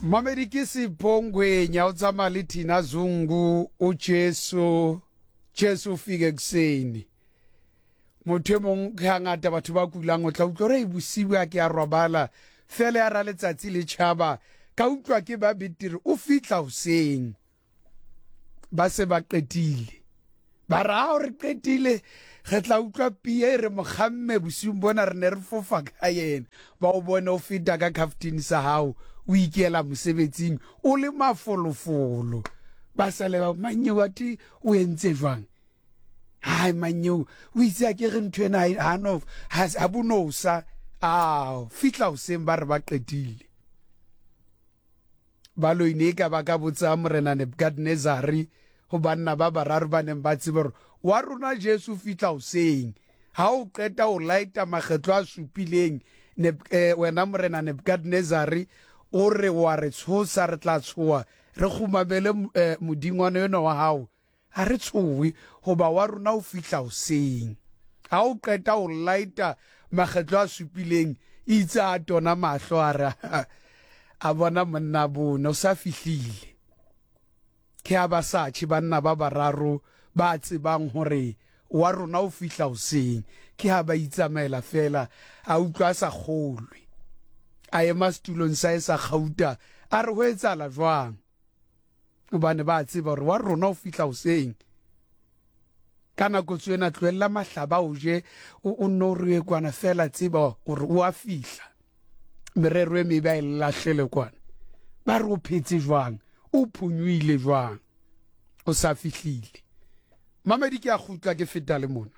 Mamedi ke Sipho Ngwenya o tsamaya le Thina Zungu o Jesu Jesu o fike ekuseni. Motho e mong ke hangata batho ba kulang o tla utlwa gore bosibu a ke a robala fela ya ra letsatsi le tšhaba ka utlwa ke ba betere o fihla hoseng. Ba se ba qetile. Ba re ao re qetile re tla utlwa pie e re mokgamme bosiung bona re ne re fofa ka yena. Ba o bone o feta ka khaftini sa hao o ikela mosebetsing o le mafolofolo. Ba sale ba manyeo athe o entse jwang? Hai manyeo o itse a ke re ntho ena ha no ha bonosa. Ao fihla hoseng ba re ba qetile. Baloi ne e ka ba ka botsa Morena Nebukadnezare ho banna ba bararo ba neng ba tseba hore wa rona Jesu o fihla hoseng. Ha o qeta o laeta makgetlo a supileng, eh, wena Morena Nebukadnezare, o re wa re tshosa, re tla tshoha, re kgumamele eh, modingwana enwa wa hao. Ha re tshohe, hoba wa rona o fihla hoseng. Ha o qeta ho laeta makgetlo a supileng, itse a tona mahlo a re a bona monna bone o sa fihlile. Ke ha ba sa tjhe banna ba bararo ba tsebang hore wa rona o fihla hoseng. Ke ha ba itsamaela feela, a utlwa a sa kgolwe. A ema setulong sa hae sa kgauta, a re ho etsahala jwang? Gobane ba tseba gore wa rona o fihla hoseng. Ka nako tsena tlohella mahlaba o je, o nno o re kwana fela, tseba gore o a fihla. Merero e mebe a e lahlele kwana. Ba re o phetse jwang, o phonyohile jwang, o sa fihlile. Mamedi ke a kgutla ke feta le mona.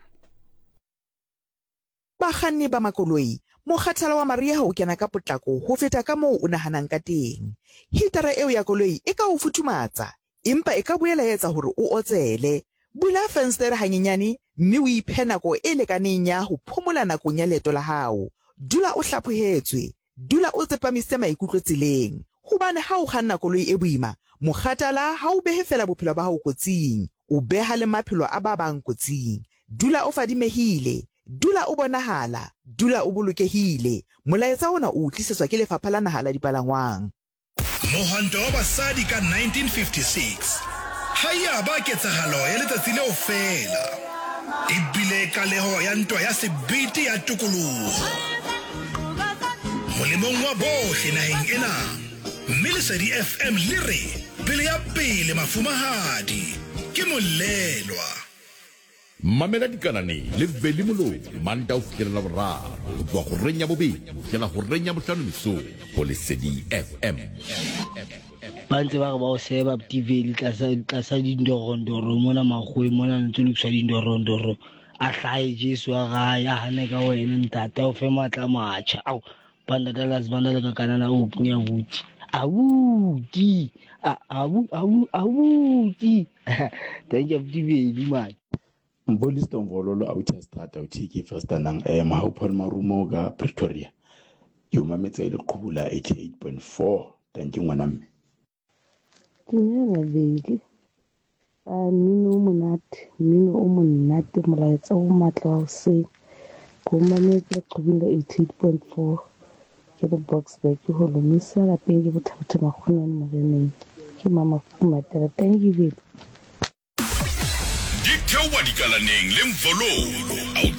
Bakganni ba makoloi, Mokgathala wa mariha o kena ka potlako ho feta ka moo o nahanang ka teng. Hitara eo ya koloi e ka o futhumatsa, empa e ka boela ya etsa hore o otsele. Bula fensetere hanyenyane mme o iphe nako e lekaneng ya ho phomola nakong ya leeto la hao. Dula o hlaphohetswe. Dula o tsepamisitse maikutlo tseleng. Hobane ha o kganna koloi e boima, mokgathala ha o behe feela bophelo ba hao kotsing, o beha le maphelo a ba bang kotsing. Dula o fadimehile. Dula o bonahala. Dula o bolokehile. Molaetsa ona o o tlisetswa ke Lefapha la Naha la Dipalangwang. Mohwanto wa basadi ka 1956 ga ya ba ketsahalo ya letsatsi leo feela, e bile qaleho ya ntwa ya sebete ya tokoloho molemong wa bohle naheng ena, mme Lesedi FM le re pele ya pele mafumahadi ke molelwa. Mamela Dikanane le Veli Moloi Mantaha ho fihlela Laboraro ho tloha horeng ya bobedi ho fihlela horeng ya bohlano mesong ho Lesedi FM. Ba ntse ba re ba o seba Pti Veli tlasa tlasa dindorondoro mona makgoweng mona ntse lokiswa dindorondoro a hlahe Jesu a rae a hane ka wena ntate a o fe matla a matjha ao banda Dallas banda le ka kanana o abuti abuti abu abu abuti Thank you abuti Veli man. Mbolisi Mvololo authi Strata uthi ke first nang eh Mahau Paul Marumo ka Pretoria. Ke o mametse e le qhubu la 88.4. Thank you ngwana mme. Dumela Veli. A mmino o monate, mmino o monate, molaetsa o matla wa hoseng. Ke o mametse leqhubung la 88.4. Ke le Boksburg ke ho lomisa lapeng ke Bothabothe Makgonyane Moreneng. Ke Mama Fumatela. Thank you Veli. Di theoha dikalaneng le Mvololo.